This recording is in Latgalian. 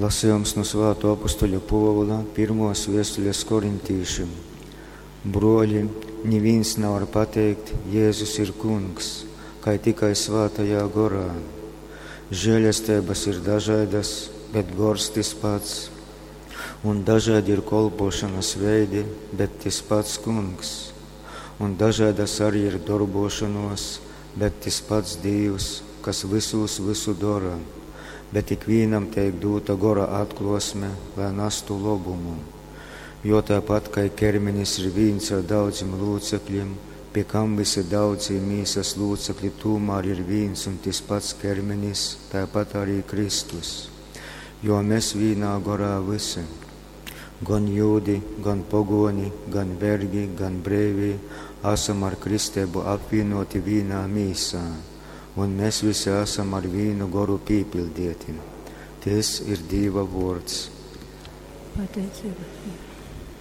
Lasījums nu Svāto apustuļa Pōvula pirmos viestules korintīšim. Bruoļi, nivīns navar pateikt, Jēzus ir kungs, kai tikai svātajā gorā. Žēlesteibas ir dažaidas, bet gors tys pats. Un dažaidi ir kolpošanas veidi, bet tys pats kungs. Un dažaidas arī ir dorbošanos, bet tys pats Dīvs, kas vysūs vysu dora. Bet ikvīnam teik dūta gora atklosme, lai nastu lobumu. Jo tāpat kai kermenis ir vīns ar daudzim lūcekļiem, pie kam visi daudzī mīsas lūcekļi tūmār ir vīns un tys pats kermenis, tāpat arī Kristus. Jo mēs vīnā gorā visi, gan jūdi, gan pogoni, gan vergi, gan breivī, esam ar kristēbu apvienoti vīnā mīsā, un mēs visi esam ar vīnu goru pīpildieti. Tys ir Dīva vōrds. Pateicība.